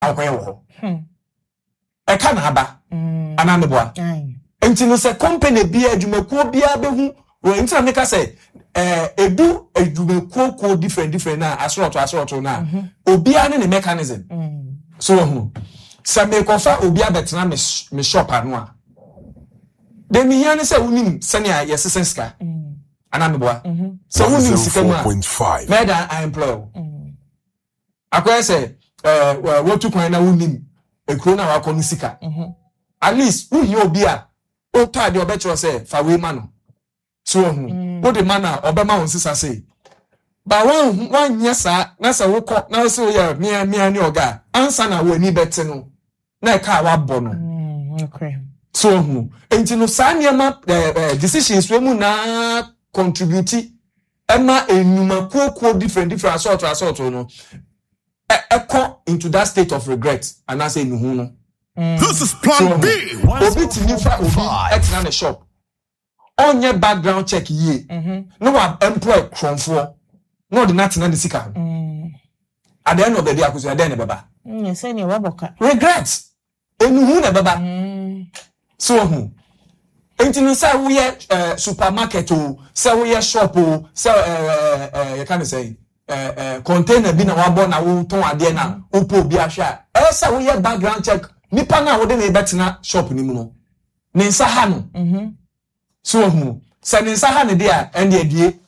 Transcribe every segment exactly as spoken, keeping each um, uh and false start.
Akɔyɛ wɔ hɔ ɛka na aba anaa meboa? Nti no sɛ company bi, adwumakuo biara bɛhu wɔ nti na meka sɛ ɛɛ edu adwumakuo kuo different different na asorɔto asorɔto na obiara ne ne mechanism so wɔ ho. Sɛ mekɔfa obi abɛtena me me shop ano a, de mehia ne sɛ wonim sɛnea yɛsesɛ sika anaa meboa? Sɛ wonim sika mu a, mɛda I employ wo. Akɔyɛ sɛ ɛɛ wɔtu kwan na wonim ekuro na wakɔ no sika, at least wohia obi a wotɔ adeɛ, ɔbɛkyerɛ sɛ fa wei ma no so wɔhu wode ma no a, ɔbɛma wo nsesa sei ba. Wanhu wanyɛ saa na sɛ wokɔ na wosɛ woyɛ mea mea ne ɔga a, ansa na w'ani bɛte no na ɛka a wabɔ no so wɔhu. Nti no saa nneɛma ɛɛ ɛɛ decisions wɔ mu naa contribute ɛma enyumakuokuo different different asɔɔto asɔɔto no ɛ ɛkɔ into that state of regret anaasɛ enuhu no. This is Plan B. Obi tumi fa obi ɛtena ne shop, ɔnyɛ background check yie na wa employ kurɔnfoɔ na ɔde n'atena ne sika ho. At the end of the day, Akosua, ɛdɛn na ɛbɛba? Sɛnea wabɔ ka. Regret, enuhu na ɛbɛba so ohun. Nti no sɛ woyɛ ɛɛ supermarket o, sɛ woyɛ shop o, sɛ ɛɛ ɛɛ yɛka ne sɛ ɛɛ ɛɛ container bi na wabɔ na wotɔn adeɛ na wopɔ obi ahwɛ a, ɛyɛ sɛ woyɛ background check. Nipa na wode ne bɛtena shop ne mu no, ne nsa ha no so ohun sɛ ne nsa ha ne deɛ a, ɛnde adie,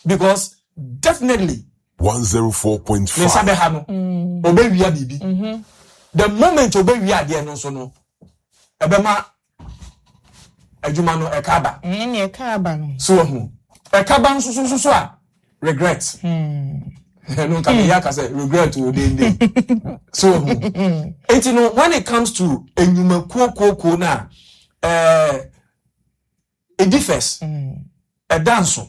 because definitely one oh four point five. Ne nsa bɛha no, obɛwia biribi. The moment obɛwia adeɛ no nso no, ɛbɛma adwuma no ɛka aba. Ɛne ɛka aba no. So ohun ɛka ba nso so so so a, regret ɛno nka meyɛ aka sɛ regret o dende so ohun. Eti no when it comes to enyumakuo kuo na ɛɛ it differs, ɛda nso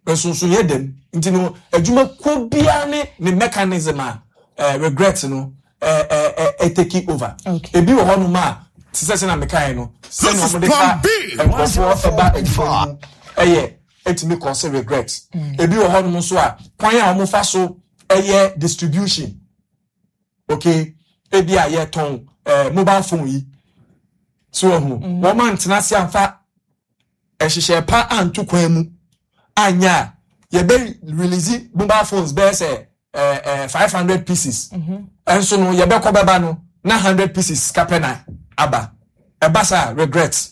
nsonso yɛ dɛm. Nti no adwumakuo biara ne ne mechanism a ɛɛ regret no ɛɛ ɛɛ ɛ take over. Okay. Ebi wɔ hɔnom a te sɛ sɛ na mekae no, sɛnea wɔde fa nkurɔfoɔ ɛba adwuma no mu ɛyɛ ɛtumi cause regret. Ebi wɔ hɔnom nso a, kwan a wɔfa so ɛyɛ distribution, okay, ebi a yɛtɔn ɛɛ mobile phone yi so wɔ ho, wɔn antena ase amfa nhyehyɛ pa anto kwan mu anya a yɛbɛ release mobile phones bɛyɛ sɛ ɛɛ ɛɛ five hundred pieces, ɛnso no yɛbɛkɔ bɛba no na hundred pieces kapɛ na aba. Ɛba saa, regret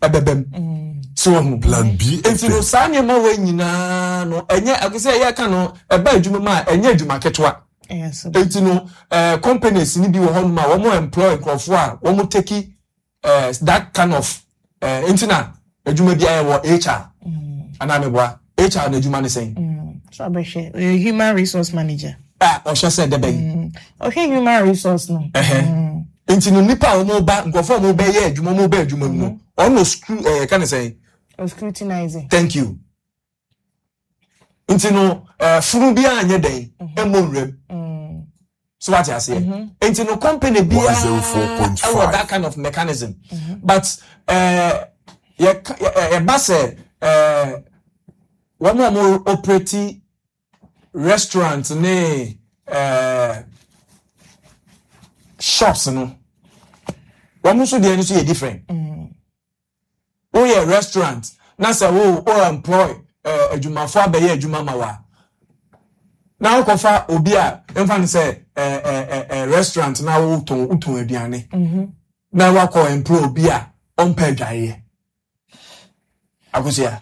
ɛbɛbɛ mu so wɔ ho. Plan B Nti no F M. saa nneɛma wɔ nyinaa no, ɛnyɛ akosɛ yɛka no ɛba adwuma mu a, ɛnyɛ adwuma ketewa. Ɛyɛ so. Nti no ɛɛ companies ni bi wɔ hɔnom a wɔn employ nkurɔfoɔ a wɔn take ɛɛ that kind of ɛɛ nti na adwuma bi ayɛ wɔ H R anaa meboa? H R na adwuma ne sɛn? So abɛhwɛ, ɔyɛ human resource manager. A ɔhwɛ sɛ dɛbɛ yi. Ɔhwɛ human resource no. Ɛhɛ, nti no nipa a wɔn ba, nkurɔfoɔ a wɔn bɛyɛ adwuma, wɔn bɛ adwuma mu no, ɔno screw ɛɛ ka ne sɛn? O scrutinizing. Thank you. Nti no ɛɛ funu bi a nyɛ dɛn ɛmɔ nwuram so, wate aseɛ? Nti no company biara one oh four point five. ɛwɔ that kind of mechanism, but ɛɛ yɛ yɛba sɛ ɛɛ wɔn a wɔn operate restaurant ne ɛɛ shops no, wɔn nso deɛ no nso yɛ different. Woyɛ restaurant na sɛ wo wo employ ɛɛ adwumafo abɛyɛ adwuma ma wa na wokɔfa obi a mfa no sɛ ɛɛ ɛɛ ɛɛ restaurant na wotɔn wotɔn aduane na wakɔ employ obi a ɔmpɛ adwareɛ, Akosua,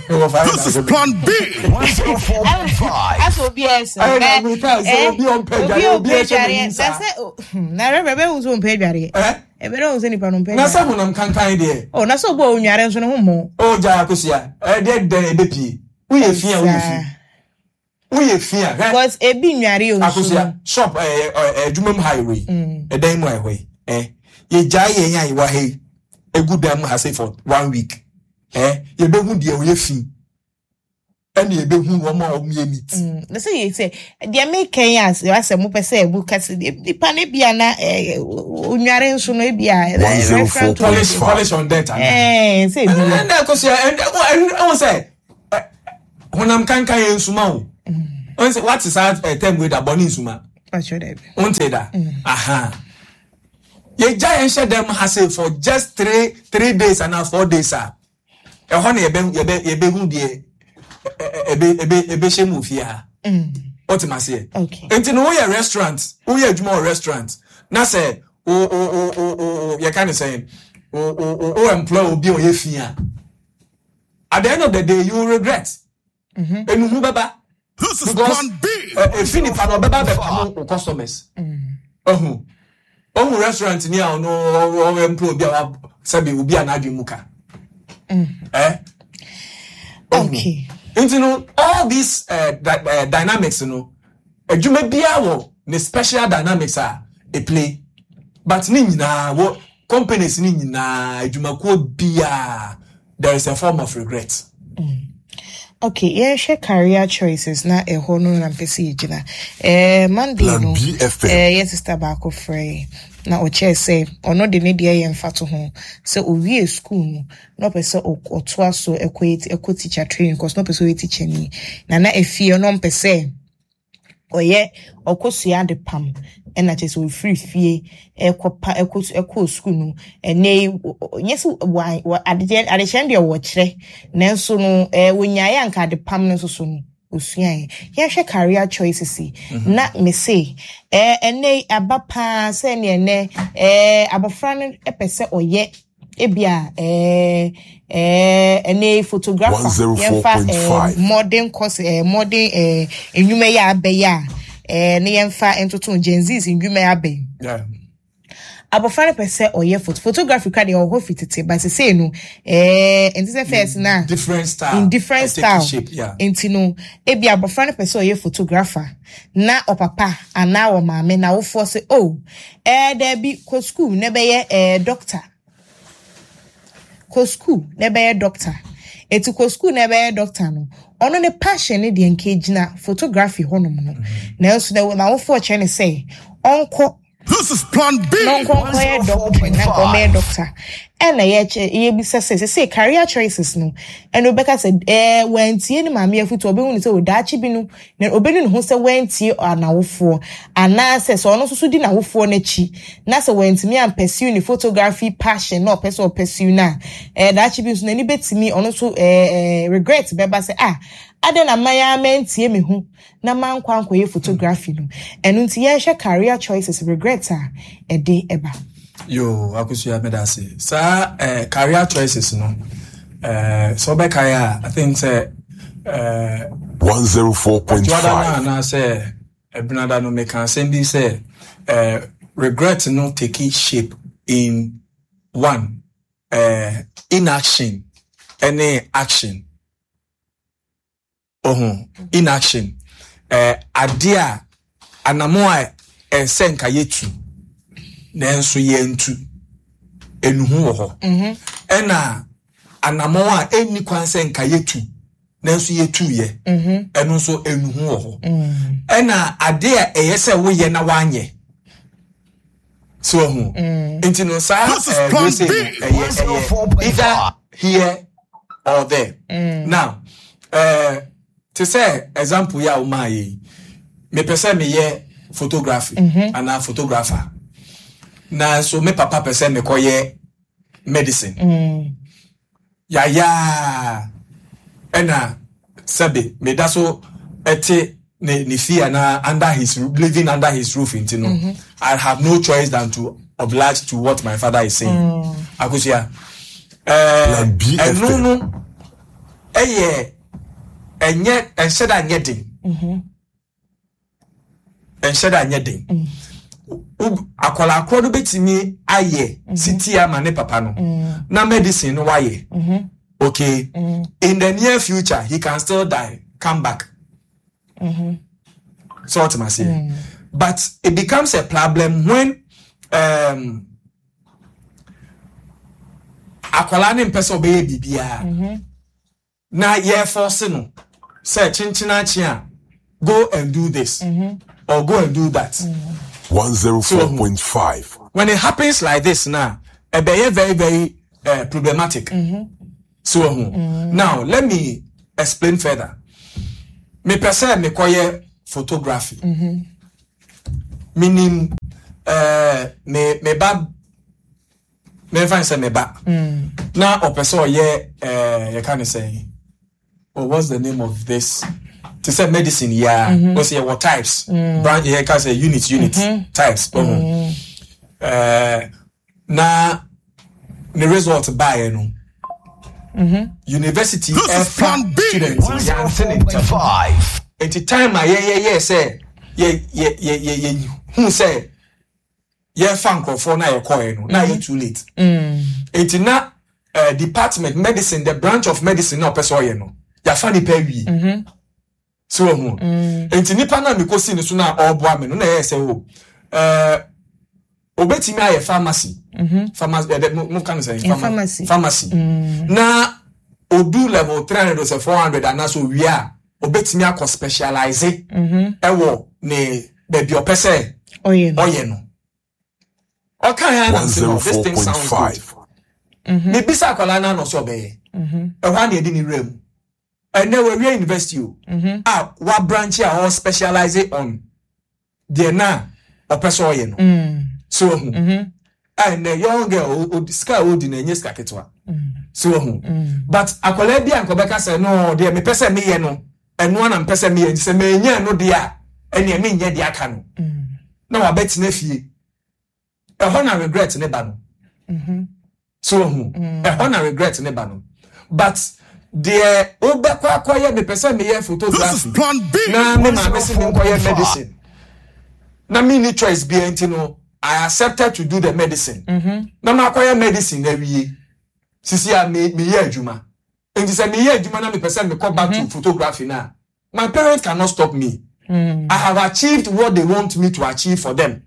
wɔfa This is Plan B. one oh four point five. Asɛ obi ɛsɛ. Ɛyɛ na meka sɛ obi a ɔmpɛ adwareɛ, obi a ɛhyɛ n'anim saa. Na sɛ na rɛbɛ bɛ hu sɛ ɔmpɛ adwareɛ. Ɛ ɛbɛ dɛ hu sɛ nipa no mpɛ na sɛ adwareɛ. Honam kankan deɛ. Ɔ na sɛ obi a onware nso ne ho mmɔ. Ɔgya, Akosua, ɛdeɛ dɛn ɛbɛpie? Woyɛ fi a, woyɛ fi, woyɛ fi a, hwɛ. Because ebi nware nsu no. Akosua, shop ɛɛ ɛɛ adwuma mu ha yi, wei ɛdan mu a ɛhɔ yi, ɛ yɛgyaa yɛn a yɛwɔ ha yi egu dan mu ha say for one week, ɛ yɛbɛhu deɛ ɔyɛ fi ɛna yɛbɛhu wɔn a wɔn yɛ neat. Mm, na sɛ yɛ sɛ deɛ meka yi asɛ asɛ mopɛ sɛ ɛbu kase nipa no bi a na eh, onware nso no ebi a eh, restaurant. Polish polish on debt ana? ɛɛ sɛ ebi wɔ. Ɛnna Akosua, ɛnna ɛnna ɛwɔ sɛ ɛ honam kankan yɛ nsuma o. Ɔn sɛ wate saa ɛ tɛm wei da bɔ ne nsuma. Ɔkyerɛ dɛ. Wonte da? Aha, yɛgya yɛn hyɛ dɛm ha sei for just three three days anaa four days a, ɛhɔ na yɛbɛ yɛbɛ yɛbɛhu deɛ ɛ- ɛ- ɛbɛ ɛbɛ ɛbɛhyɛ mu wɔ fie ha. Wote ma seɛ? Okay. Nti no, woyɛ restaurant, woyɛ adwuma wɔ restaurant na sɛ wo wo wo wo wo yɛka ne sɛn, wo wo wo wo employ obi a ɔyɛ fi a, at the end of the day you will regret. Enuhu bɛba. This is Because Plan B. ɛ efi nipa no ɔbɛba bɛpam wo customers. Ɔhu ɔhu restaurant ni a ɔno ɔwɔ employ obi a wa sɛbi obi a n'adwene mu ka ɛ. Okay. Nti no, all these uh, di uh, dynamics no, adwuma biara wɔ ne special dynamics a e play, but ne nyinaa wɔ companies ne nyinaa, adwumakuo biara, there is a form of regret. Okay, yɛhwɛ career choices na ɛhɔ no na mpɛ sɛ yɛgyina. Eh, Monday Plan no, B F M. eh, yɛ sister baako frɛ yɛn na ɔkyerɛ sɛ ɔno de ne deɛ yɛ mfa to ho sɛ owie school no na ɔpɛ sɛ ɔk- ɔtoa so ɛkɔ yɛ- ɛkɔ teacher training course, na ɔpɛ sɛ ɔyɛ teacher ni, na na efie no ɔmpɛ sɛ ɔyɛ ɔkɔsua ade pam, ɛna kyerɛ sɛ ofiri fie ɛkɔ pa ɛkɔ ɛkɔɔ sukuu no. Ɛnɛ yi ɔ- ɔ- nyɛ sɛ wa wa adeɛ adekyerɛ no deɛ wɔkyerɛ, nanso no ɛɛ wonyaeɛ anka ade pam no nso so no osuaeɛ. Yɛhwɛ career choices yi na me se ɛɛ ɛnɛ yi aba paa sɛ ɛne ɛnɛ ɛɛ abɔfra no ɛpɛ sɛ ɔyɛ ebia ɛɛ ɛɛ ɛnɛ yi photographer, yɛmfa ɛɛ one oh four point five. Modern course, ɛɛ modern ɛɛ nnwuma yi a abɛyɛ a ɛɛ ne yɛmfa ntoto Gen Zs nnwuma yi abɛn. Yeah. Abɔfra no pɛ sɛ ɔyɛ photo photography kora deɛ, ɔwɔ hɔ fi tete, but sesei no ɛɛ nti sɛ first na Different style. In different uh, taking style. Shape, yeah. Nti no, ebi abɔfra no pɛ sɛ ɔyɛ photographer na ɔpapa anaa ɔmaame na awofoɔ sɛ, oh, ɛɛ dɛbi, kɔ school na ɛbɛyɛ ɛɛ doctor, kɔ school na ɛbɛyɛ doctor. Eti kɔ school na ɛbɛyɛ doctor no, ɔno ne passion ne deɛ nka gyina photography hɔnom no, nanso na n'awofoɔ kyerɛ ne sɛ ɔnkɔ This is Plan B. na ɔnkɔ nkɔyɛ doctor na nka ɔmɛyɛ doctor. Ɛna yɛkyɛ yɛbisa sɛ sɛ career choices no, ɛna ɔbɛka sɛ ɛɛ wɔntie ne maame afutu, ɔbɛhu ne sɛ ɔdaakye bi no na ɔbɛnu ne ho sɛ wɔntie n'awofoɔ, anaasɛ sɛ ɔno nso so di n'awofoɔ n'akyi na sɛ wɔntumi ampursue ne photography passion na ɔpɛ sɛ ɔpursue no a, ɛɛ daakye bi nso n'ani bɛtumi ɔno nso ɛɛ ɛɛ regret bɛba sɛ, ah, adɛn na mman ya mantie me ho na mankɔ ankɔyɛ photography no? Ɛno nti yɛnhwɛ career choices regret a ɛde ɛba. Yo, Akosua, meda ase. Saa eh, career choices no, eh, sɛ wobɛkae a, I think sɛ eh, one oh four point five. Dwoada no anaasɛ Ɛbenada no, meka asɛm bi sɛ eh, regret no take shape in one, eh, inaction ɛne action. Ɔho inaction, eh, adeɛ a anamo a ɛsɛ nka yɛtu nanso yɛntu, enuhu wɔ hɔ, ɛna anamo a ɛnni kwan sɛ nka yɛtu nanso yɛtu yɛ, ɛno nso enuhu wɔ hɔ, ɛna adeɛ a ɛyɛ sɛ woyɛ na wanyɛ so ɔho. Nti no saa This is ɛɛ Plan wei sei B. no, ɛyɛ ɛyɛ either here or there. Now, ɛɛ te sɛ example yi a womaa yɛ yi, mepɛ sɛ meyɛ photography anaa photographer, nanso me papa pɛ sɛ mekɔyɛ medicine. Yayaa, ɛna sɛbe meda so ɛte ne ne fie anaa under his living under his roof, nti no I have no choice than to oblige to what my father is saying. Akosua, ɛɛ Plan B ɛno F M. no ɛyɛ ɛnyɛ ɛnhyɛ da nyɛ den, ɛnhyɛ da nyɛ den. Wo- akwadaa korɔ no bɛtumi ayɛ siti ama ne papa no na medicine no wayɛ okay. In the near future he can still die, come back. So what am I saying? But it becomes a problem when um, akwadaa ne mpɛ sɛ ɔbɛyɛ biribiara na yɛforce no sɛ kyenkyena akyi a, go and do this or go and do that. one oh four point five. When it happens like this now, ɛbɛyɛ very very uh, problematic. So mm. now let me explain further. Mepɛ sɛ mekɔyɛ photography. Menim ɛɛ me me ba, memfa n sɛ me ba na ɔpɛ sɛ ɔyɛ ɛɛ yɛka ne sɛ, oh, what's the name of this, te sɛ medicine yi a ɔsɛ yɛwɔ types, branch, yɛka sɛ unit unit types ɔho. ɛɛ na ne result baeɛ no, university This is ɛfa Plan B. students no, yɛante ne ntɛm. one oh four point five. Nti time a yɛyɛyɛ sɛ yɛ yɛ yɛ yɛ yɛ hu sɛ yɛfa nkurɔfoɔ na yɛkɔɛ no, na yɛ too late. Nti na uh, department medicine, the branch of medicine na ɔpɛ sɛ ɔyɛ no, yɛafa nipa awie so ɔho. Nti nipa na mekɔsi ne so na ɔreboa me no na ɛyɛ sɛ o ɛɛ obetumi ayɛ pharmacy, pharmacy ɛdɛ mo mo ka no sɛ Eh, pharmacy. Pharmacy na odu level three hundred or four hundred anaasɛ owie a, obetumi akɔ specialize ɛwɔ ne baabi ɔpɛ sɛ ɔyɛ no. Ɔyɛ no, ɔka yɛn anam sɛ, no, this thing sounds good. one oh four point five. Mebisa akwadaa no ano sɛ ɔbɛyɛ ɛhɔ a na yɛde ne wura mu. Ɛnɛ wɔawie university o a wa branch a ɔwɔ specialize on deɛ na ɔpɛ sɛ ɔyɛ no so ɔhu. A ɛnɛ young girl o- o- sika a ɔdi no ɛnyɛ sika ketewa so ɔhu. But akwadaa bi a nkɔbɛka sɛ no deɛ mepɛ sɛ meyɛ no, ɛno ana mepɛ sɛ meyɛ, nti sɛ mɛnyɛ ɛno deɛ a, ɛneɛ menyɛ deɛ aka no na wabɛtena fie. Ɛhɔ na regret ne ba no so ɔhu. Ɛhɔ na regret ne ba no. But deɛ wobɛkɔ akɔyɛ, mepɛ sɛ meyɛ This is photography Plan B. na me maame se menkɔyɛ medicine na menni choice bia, nti no I accepted to do the medicine na makɔyɛ medicine na awie. Sisi a me meyɛ adwuma, nti sɛ meyɛ adwuma na mepɛ sɛ mekɔ back to photography na my parents cannot stop me. I have achieved what they want me to achieve for them.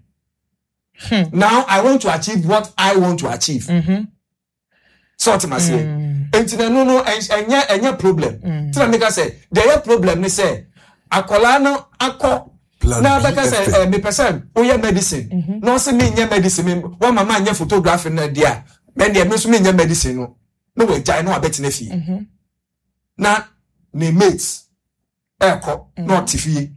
Now I want to achieve what I want to achieve. Sɛ ɔte ma seɛ, nti na ɛno no ɛn- ɛnyɛ ɛnyɛ problem. Tí na meka sɛ deɛ ɛyɛ problem ne sɛ akwadaa no akɔ Plan na bɛka sɛ B F M. ɛ mepɛ sɛ woyɛ medicine na ɔsɛ menyɛ medicine, me wɔn mama nyɛ photography na deɛ a mɛ deɛ me nso menyɛ medicine no, na wɔagyae na wabɛtena fie na ne mates ɛɛkɔ na ɔte fie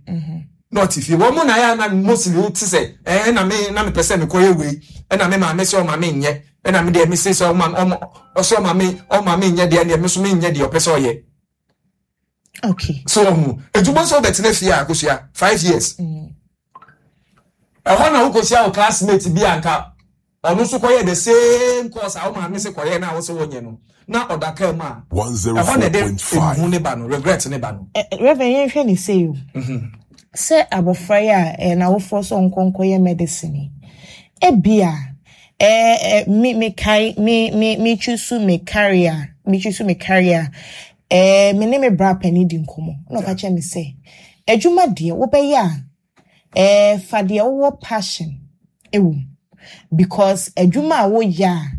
na ɔte fie. Wɔn mo na yɛ ana mostly wote sɛ ɛɛ na me na mepɛ sɛ mekɔyɛ wei, ɛna me maame sɛ ɔma me nyɛ, ɛna me deɛ me se sɛ ɔma ɔma ɔsɛ ɔma me ɔma me nyɛ deɛ, deɛ me nso me nyɛ deɛ ɔpɛ sɛ ɔyɛ. Okay. So ɔhu edwuma nso ɔbɛtena fie a akosua five years. Ɛhɔ na wokɔsia wo classmate bi anka ɔno nso kɔyɛ the same course a wo maame sɛ kɔyɛ na wo sɛ wonyɛ no na ɔda kaa mu a, ɛhɔ na ɛde one oh four point five. ehu ne ba no, regret ne ba no. Eh, eh, Reverend, yɛnhwɛ ne sei o, sɛ abɔfra yi a eh, n'awofoɔ sɛ ɔnkɔ nkɔyɛ medicine yi, ebia eh, eh, me mekae me me me choose me career me choose me career, eh, me ne me bra panin di nkɔmmɔ na ɔka kyerɛ me sɛ adwuma deɛ wobɛyɛ a, eh, fa deɛ wowɔ passion ɛwɔ mu, because adwuma a woyɛ a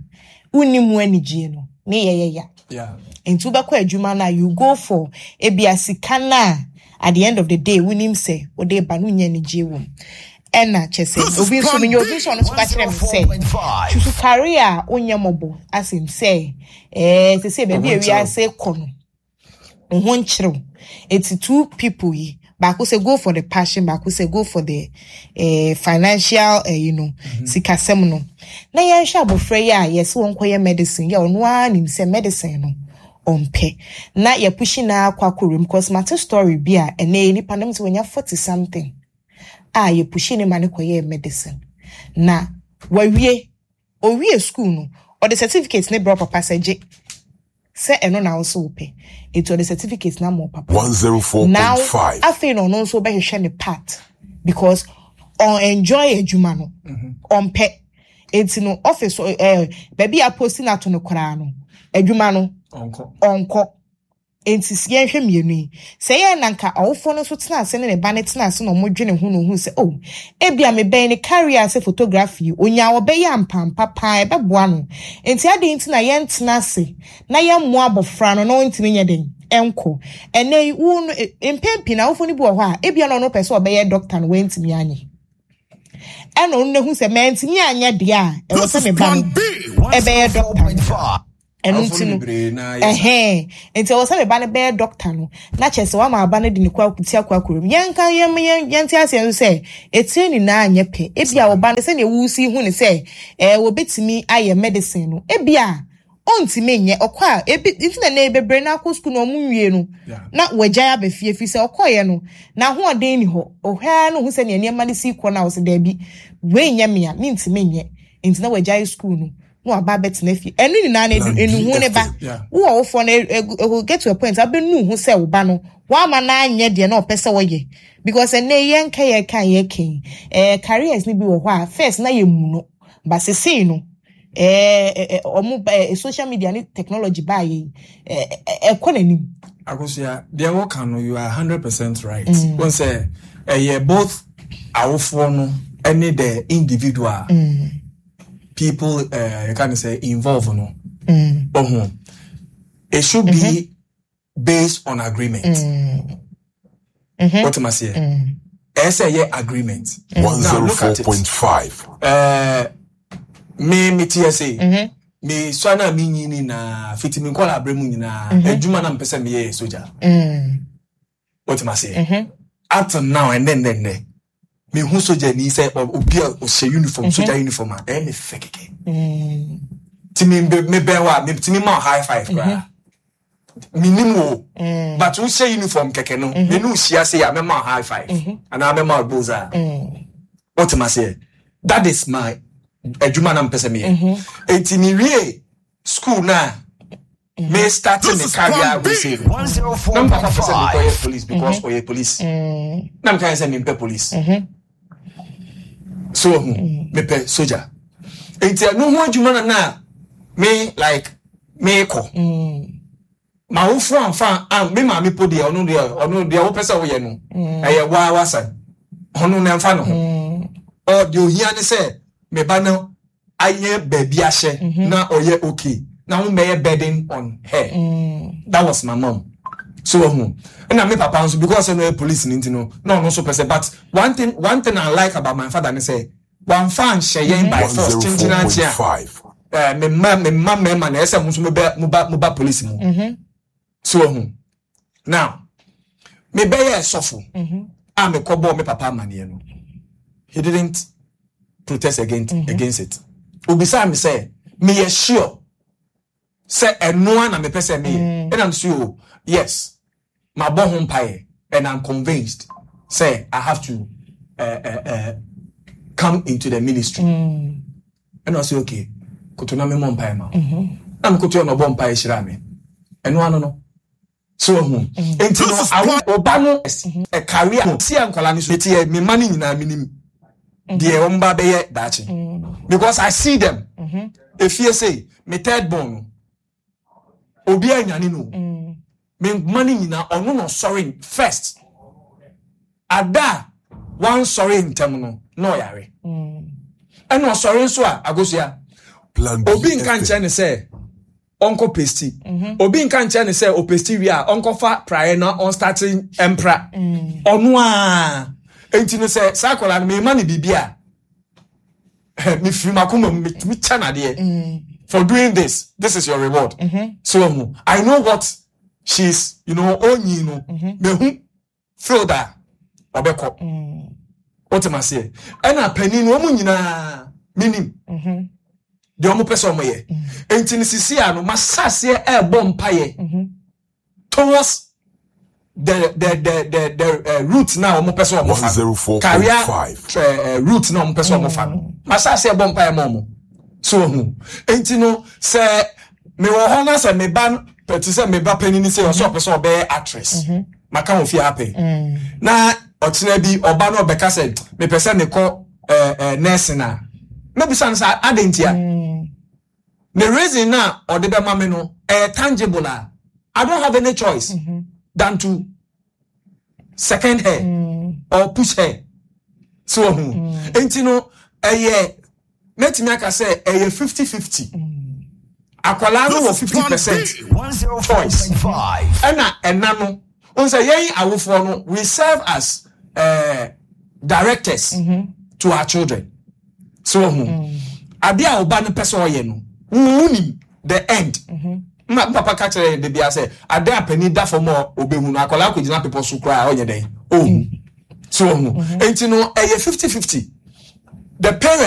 wonni mu anigye no ne yɛyɛ ya. Yeah. Nti wobɛkɔ adwuma no a, you go for ebia sika no a, at the end of the day wonim sɛ wode ba no, wonya anigye wɔ mu. Ɛna kyɛ sɛ This is obi nso Plan menya B. obi nso ɔno nso ka kyerɛ me sɛ one oh four point five. tutu career a wonyɛ mmɔbɔ asɛm sɛ ɛɛ sɛ sɛ baabi a Wo ho nkyerɛw. wiase kɔ no, wo ho nkyerɛw. Eti two people yi, baako sɛ go for the passion, baako sɛ go for the eh, financial, eh, you know, sikasɛm no. Na yɛnhwɛ abɔfra yi a yɛsɛ wɔn kɔyɛ medicine yɛ, ɔno ara nim sɛ medicine no ɔmpɛ, na yɛpushi na akɔ akɔwura mu, because mate story bi a ɛnɛ nipa no sɛ wɔnya forty something a yɛpushi ne ma ne kɔyɛɛ medicine na wawie. Owie school no, ɔde certificate ne brɛ papa sɛ gye sɛ ɛno na ɔsɛ wopɛ, eti ɔde certificate na ma papa. Now one oh four point five. afei na ɔno nso bɛhwehwɛ ne part because ɔn enjoy adwuma no, ɔmpɛ. Eti no office ɛɛ baabi a post na ato no koraa no, adwuma no ɔnkɔ. Ɔnkɔ. Nti s- yɛnhwɛ mmienu yi sɛ yɛn na nka ɔwofoɔ no nso tena ase ne ne ba no tena ase na ɔmo dwene ho na ohun sɛ, oh, ebia mebɛn ne career sɛ photography, onya ɔbɛyɛ ampampa paa, ɛbɛboa no. Nti adeɛ nti na yɛntena ase na yɛmmoa abɔfra no na ɔntumi nyɛ den ɛnkɔ. Ɛnɛ yi wo no e- mpɛn pii na awofoɔ no bi wɔ hɔ a, ebia na ɔno pɛ sɛ ɔbɛyɛ doctor no, wɔntumi anyɛ, ɛna ɔno nahu sɛ mɛntumi anyɛ deɛ a ɛwɔ This sɛ is me ba no Plan B. ɛbɛyɛ doctor no. one oh four point five. Ɛno Awofo nti no no bebree na yɛ saa. Ɛhɛn, nti ɛwɔ sɛ me ba no bɛyɛ doctor no, na kyerɛ sɛ wama aba no de ne kɔ akuti akɔ akɔrɔ mu. Yɛnka yɛn yɛn yɛnte aseɛ nso sɛ etire nyinaa nyɛ pɛ. Ebi a ɔba no, sɛnea wusi hu ne sɛ ɛɛ wɔbɛtumi ayɛ medicine no, ebi a ɔntumi nyɛ. Ɔkɔ a, ebi nti na ne bebree na akɔ sukuu na ɔmo nwie no Yeah. na wɔagyae aba fie, fi sɛ ɔkɔɔyɛ no n'ahoɔden ni hɔ. Ɔhwɛ no, hu sɛ nea nneɛma no si kɔ na ɔsɛ daabi, wei nyɛ mea, mentumi nyɛ, nti na wɔagyae sukuu no na waba abɛtena fie. Ɛno nyinaa no, edu enuhu ne ba. Yeah. Wo ɔwofoɔ no, egu egu get to a point abɛnu ho sɛ wo ba no wama n'anyɛ deɛ na ɔpɛ sɛ wɔyɛ, because ɛnɛ yɛn nka yɛn ka yɛn kɛn ɛɛ careers ni bi wɔ hɔ a first na yɛ mu no, ba sesei no ɛɛ ɛɛ ɔmo ɛɛ social media ne technology baa yɛ yi, ɛɛ ɛkɔ n'anim. Akosua, deɛ wɔka no, you are hundred percent right. Wɔn sɛ ɛyɛ both awofoɔ no ɛne the individual people ɛɛ yɛka ne sɛ involve no. Ɔho it should be based on agreement. Wɔte ma seɛ, ɛyɛ sɛ ɛyɛ agreement. One Now zero look four at it. point five. ɛɛ me me te ɛsɛ me sua na me nyi ni na fiti me nkɔla abere mu nyinaa, adwuma na mpɛ sɛ meyɛ yɛ soja. Wɔte ma seɛ, up till now, ɛnɛ nnɛ nnɛ mehu soja ni sɛ ɔ- obi a ɔhyɛ uniform, soja uniform a, ɛyɛ me fɛ kɛkɛ. Ti me me bɛn wa me ti me ma wo high five koraa, menim wo, but wohyɛ uniform kɛkɛ no, me ne wo hyia se a, mɛma wo high five anaa mɛma wo bulls a. Wɔte ma seɛ, that is my adwuma na mpɛ sɛ meyɛ. Enti mewie school na me start This me is career Plan B. we say na me papa pɛ sɛ mekɔyɛ police because ɔyɛ police, na meka yɛ sɛ mempɛ police, so ohu mepɛ soja. Enti ɛno ho adwuma na na me like mekɔ ma wofo amfa am. Me maame po deɛ, ɔno deɛ ɔno deɛ wopɛ sɛ woyɛ no, ɛyɛ waa wasan, ɔno na ɛmfa ne ho. Ɔ deɛ ohia ne sɛ me ba no ayɛ baabi ahyɛ na ɔyɛ okay na ho bɛyɛ burden on her. That was my mom. So ɔho ɛna me papa nso, because ɛno yɛ police ne nti no, na ɔno nso pɛ sɛ. But one thing one thing I like about my father ne sɛ wamfa anhyɛ yɛn by One force zero kyenkyen four point ankye a five. ɛɛ me mma me mma mmarima na ɛsɛ mo nso mo bɛ mo ba mo ba police mu. So ɔho now me bɛyɛ sɔfo a, me kɔ bɔɔ me papa amaneɛ no, he didn't protest against against it. Obisa mi sɛ meyɛ sure sɛ ɛnoa na mepɛ sɛ meyɛ, ɛna m so o, yes, mabɔ ho mpaeɛ and I'm convinced sɛ I have to uh, uh, uh, come into the ministry. Ɛna ɔsɛ okay, koto na memmɔ mpaeɛ ma wo. Na mekoto yɛ na ɔbɔ mpaeɛ hyira me. Ɛno ano no so ɔhu. Enti no awo ɔba no ɛ career no si a nkwadaa no so eti yɛ me mma no nyinaa, minim deɛ wɔn ba bɛyɛ daakye because I see them. Efie sei, me third born no, obi anyane no, me mma no nyinaa, ɔno na ɔsɔre first. Ada a wansɔre ntɛm no na ɔyare, ɛna ɔsɔre nso a, Agosua, Plan B obi nka F M. nkyɛn ne sɛ ɔnkɔ pesti, obi nka nkyɛn ne sɛ ɔpesti wie a ɔnkɔfa praeɛ na ɔnstart mpra. Ɔno a enti no sɛ saa akwadaa no, mema no biribi a mefiri m'akoma mu metumi kyɛ nadeɛ for doing this. This is your reward. So ɔho I know what she's you know ɔnyi no, mehu field a ɔbɛkɔ. Wote ma seɛ, ɛna panin no, wɔn nyinaa menim deɛ ɔmo pɛ sɛ ɔmo yɛ. Nti no sisi a no masaseɛ ɛɛbɔ mpayɛ towards the the the the the uh, route na ɔmo pɛ sɛ ɔmo fa no, career one oh four point five. uh, uh, route na ɔmo pɛ sɛ ɔmo fa no, masaseɛ bɔ mpayɛ ma ɔmo. So ohun nti no sɛ mewɔ hɔ na sɛ meba no pɛti sɛ meba panyin sɛ ɔsɛ ɔpɛ sɛ ɔbɛyɛ actress, maka wɔ fie apɛ na ɔkyena bi ɔba no ɔbɛka sɛ mepɛ sɛ mekɔ ɛɛ ɛɛ nursing a, mebisa no sɛ ade ntia. The reason na ɔde bɛma me no ɛyɛ tangible a, I don't have any choice than to second her or push her. So ohun nti no ɛyɛ mɛtumi aka sɛ ɛyɛ fifty fifty. Akwadaa no wɔ fifty percent choice, ɛna ɛna no n sɛ yɛn awofoɔ no, we serve as uh, directors to our children. So ohun adeɛ a ɔba no pɛ sɛ ɔyɛ no, wunim the end. Ma papa ka kyerɛ yɛn de bia sɛ ade a panin da fam a obehu no, akwadaa akɔgyina pepɔ so koraa, ɔnyɛ dɛn ohu so. Ɔhu nti no, ɛyɛ fifty fifty, the parent.